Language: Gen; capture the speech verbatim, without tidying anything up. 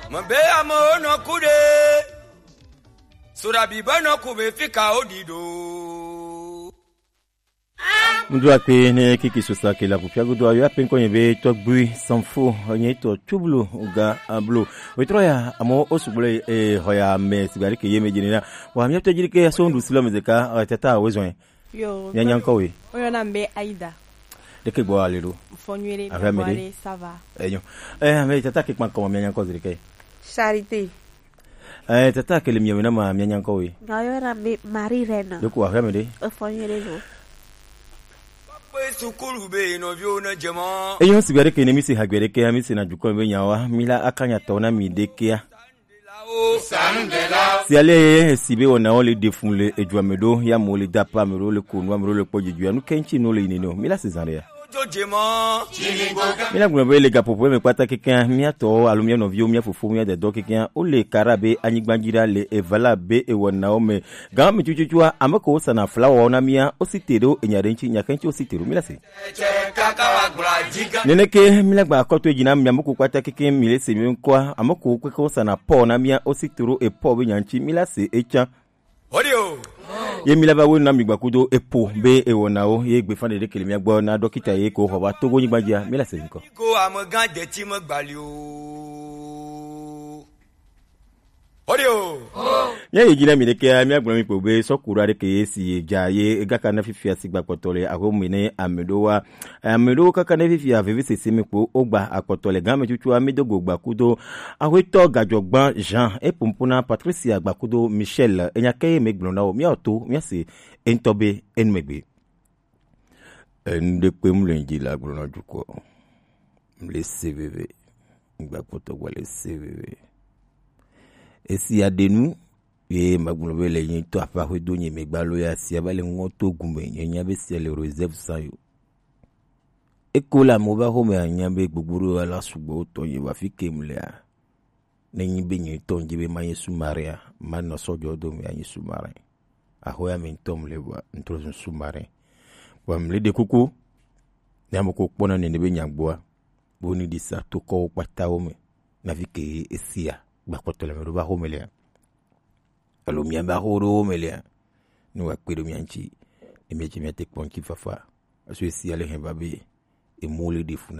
Mbe amewo nɔ ku ɖe. Soɖabi be nɔ ku be fika wo ɖi ɖo. Ŋdu akpe ne kiki sosa ke la ƒoƒia godo ayo ape ŋkɔ nye be tɔgbui sanfo nye tɔ tublu ga ablo. Wetrɔ ya amewo wo sugbɔ le, eh, xɔ ya me sigba ɖeke ye me dzi nena. Wa mía tɔ dzi ɖeke ya so ŋɖu si lɔ me zeka, eh, tata wo zɔn. Yo, mía nya ŋkɔ we. Oyɔna mbe Aida. Ɖeke gbɔ ale ɖo. Fɔ nyuie ɖe. Aƒe me ɖe. Ça va. Enyo. Eh, ame tata ke kpankɔ mía nya ŋkɔ zi ɖeke. Charité. Eh, tata ke le mia me na ma mía nya ŋkɔ we. Nga yɔ na me Marie Reine. Ɖeko aƒe me ɖe. Efɔ nyuie ɖe lo. Pe sukulu be nɔviwo ne dze mɔ. Enyo sigba ɖeke ne mi si hagbe ɖeke, mi si na dukɔ be nyawa, mi la akanya tɔ na mi ɖekea. Si ale ye si be wɔnawo le ɖe fun le edua me ɖo, ya mo le da pa me ɖo, le ko nu me ɖo, le kpɔ dzi dua, nu ke ŋtsi nu le yi ne no. Mi la si zan ɖe ya. Mi la gblɔ be le gaƒoƒo me kpata kekeŋ, mía tɔwo alo mía nɔviwo, mía fofo, mía dadɔ kekeŋ, wo le kara be anyigba dzi ɖa le evala be ewɔnawo me. Gã me tututua, ame ko wosana flawa na mía, wosi te ɖo enya ɖe ŋtsi, nya ke ŋtsi wosi te ɖo, mi la si. Neneke mi la gba akɔtɔ dzi na mía, ame ko kpata kekeŋ mi le se mi ŋkɔa, ame ko keke wosana pɔ na mía, wosi te ɖo epɔ be nya ŋtsi, mi la se etsã. Ye mi la va wo na mi gbakudo epo be ewɔnawo ye gbe fan ɖeɖe kele mia gbɔ na dɔkita ye ko xɔ va Togo nyigba dzia, mi la se ŋkɔ. Ko amegã deti me gbali o. Mía yi dzi na mi ɖekea, mía gblɔ mi kpo be sɔkura ɖeke ye si ye dza ye egaka na fifia si gbakpɔtɔ le axome ne ame ɖo wa. Ame ɖewo kaka ɖe fifia vevi sese me kpo wogba akpɔtɔ le game tutua mi do go gbakudo. Axwetɔ Gadzɔgban Jean epompo na Patricia gbakudo Michel, enya ke ye megblɔ na wo, mía to mía se entɔ be enu megbe. Enu ɖe kpe mu le dzi la gblɔ na dukɔ. Mle se veve. Gbakudo gba le se veve. Esi aɖenu ye magblɔ be le nye to aƒe axwe do nye megba lo ya sia va le ŋɔ to gume, nye nya be sia le reserve san yo. Eko le amewo va xɔme anya be gbogbo ɖo la sugbɔ wotɔ nye va fi ke mu lea. Ne nyi be nye tɔ nyi be manye sous-marin a, manɔ sɔdzɔ do me anyi sous-marin. Axɔya me ŋutɔ mu le vɔa, ŋtrɔ zu sous-marin. Vɔa mu le ɖe kuku, ne ame ko kpɔna nene be nya gbɔa, bo ni ɖi sa to kɔwo kpatawo me. Na fi ke esia, gbakpɔtɔ le me ɖo va xɔme lea. Alo mia va xɔ ɖo me lea. Ne wa kpe ɖo mia ŋtsi, ne mia tsi mia te kpɔ ŋtsi fafa. Aso esia le hɛn va be, emu le ɖe fu na